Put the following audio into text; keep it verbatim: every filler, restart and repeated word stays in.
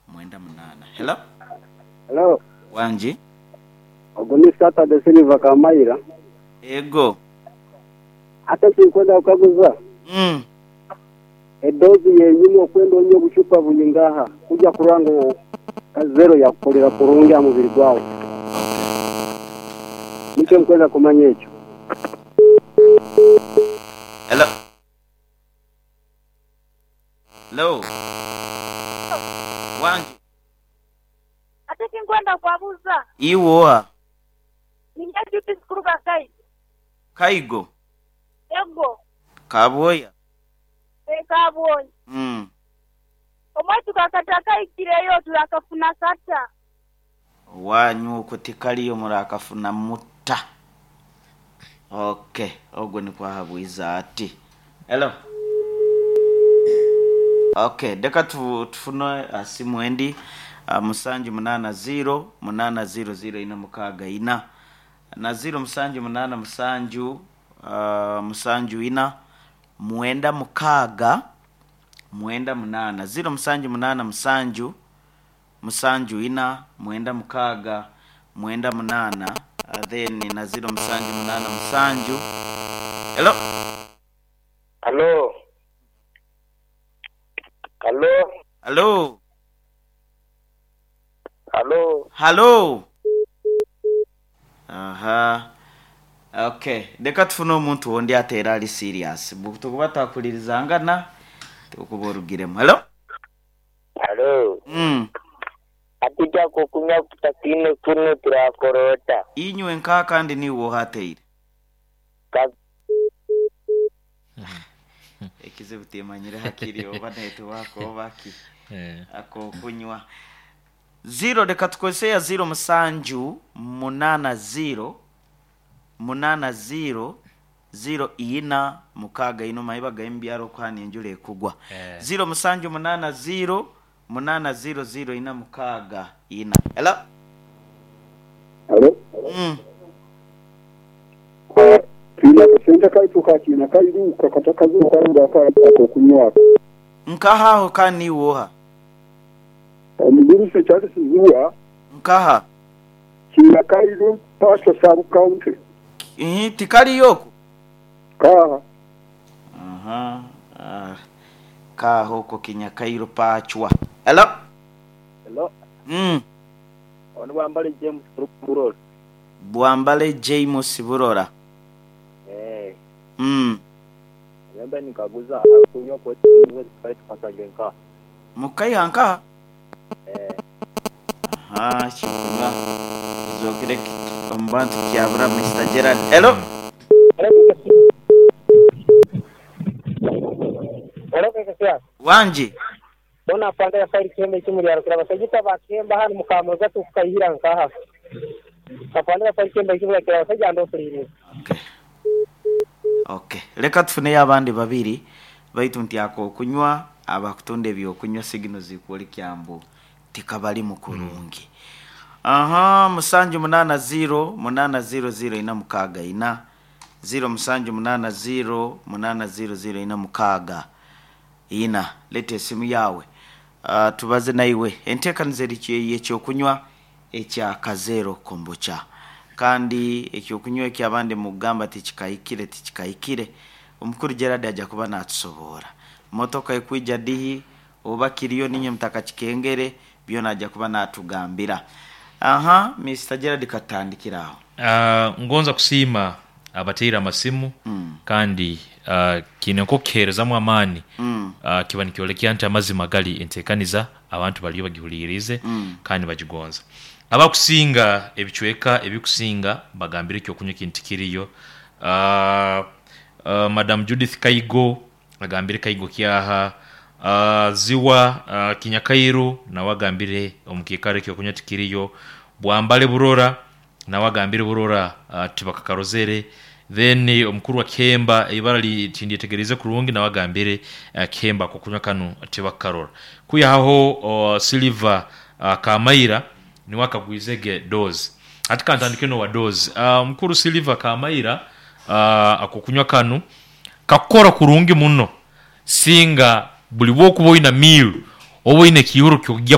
Mwenda munaana. Hello. Hello. Wangi. Ogu ni Saturday Silver Kamaira. Ego. Ate kinkwenda kukaguza. Mm. Edozi yenyini okwenda onywe obucupa bunyingaha kujja kurora ngu kazero yakukolera kurungi aha mubiri gwawe. Okay. Nikyo nkwenda kumanya ekyo. Hello. Hello. Wangi. Ate kinkwenda kwabuza. Iwoa. Ninja Judith kuruga Kaigo. Kaigo. Ego. Kabwoya. Kabwoya. Mm. Omwaitu kakata kaikireyo turakafuna kata. Wanyu okwo tikaliyo murakafuna mutta. Okay, ogwo nikwahabwiza ati. Hello. Okay, deka tu, tufune uh, simu endi uh, musanju munana zero munana zero zero ina mukaaga ina na zero musanju munana musanju uh, musanju ina mwenda mukaaga mwenda munana zero musanju munana musanju musanju ina mwenda mukaaga mwenda munana uh, then na zero musanju munana musanju. Hello. Hello. Hello. Hello. Hello. Hello. Aha. Okay, leka tufune omuntu wondi ateera ali serious. Tukuba twakulirizangana tukuba orugiremu. Hello. Hello. Mm. Atija kukunywa kutakine kuno turakorota. Inywe nka kandi niwe ohateire. Ka Ekizibu timanyire hakiri oba netiwaka oba ki. Eh. Akokunywa. Zero leka tukozese ya zero musanju munana zero munana zero zero ina mukaaga ino mayiba gaimbyaro okuhana enjura ekugwa. Eh. Zero musanju munana zero munana zero zero ina mukaaga ina. Hello. Hello. Mm. Twine akasente kaitu kakiina kairuka katakazuka akokunywa. Nkaha kandi woha. Omugurusi Charles Zuwa Nkaha. kiina kairu Pastor Sub County. Ihi tikaliyo. Kaha. Aha. Ah. Kaho ko kinyakairo pachwa. Hello. Hello. Mm. Ono Bwambale James Burora. Bwambale James Burora. Eh. Mm. Yamba nikaguza kunywa kwa nka. Mukaiha nkaha. Eh. Aha, kikunywa. Zokire omubantu kyabura Mister Gerard. Hello. Wanji. Bona panda ya faili kembe kimuri yarukira basajita bakemba hano mukamoza tukayihira nkaha. Kapanda ya faili kembe kimuri yarukira basajja ndo fuliri. Okay. Okay. Leka tufune abandi babiri baitu nti ako kunywa abakutonda ebyokunywa signals zikuoli kyambu tikabali mukurungi. Mm. Aha, musanju munana zero munana zero zero ina mukaaga ina zero musanju munana zero munana zero zero ina mukaaga ina. Lete esimu yawe. Uh, tubaze naiwe enteekaniza eri ekyokunywa ekya kazero kombucha kandi ekyokunywa ekyabandi mugamba tikikahikire tikikahikire omukuru Gerard ajja kuba natusoboora motoka ekwija dihi oba kiriyo ninye mutaka kikengere byona ajja kuba natugambira. Aha, Mister Gerard katandikira aho. Uh, ngonza kusiima abateire amasimu Mm. kandi uh, kine nkokuheerezamu amaani Mm. uh, kiba nikyolekya nti amazima gali enteekaniza abantu baliyo bagihulirize Mm. kandi bagigonza. Abakusinga ebicweka ebikusinga bagambire ekyokunywa kintu kiriyo. Uh, uh, Madam Judith Kaigo agambire Kaigo kyaha. Uh, Ziwa uh, Kinyakairu nawe agambire omukiikaro ekyokunywa tikiriyo. Bwambale Burora nawe agambire Burora uh, tibakakarozere. Then omukuru wa Kemba ibara tindyetegereze kurungi nawe agambire uh, Kemba kukunywa kanu tibakarora. Kuyaho uh, Silver uh, Kamaira niwe akagwizege dozi. Ati kantandike no wa dozi. Uh, mukuru Silver Kamaira uh, akokunywa kanu kakora kurungi muno singa buli bwokuba oyina meal oba oyina ekihuro kyokujja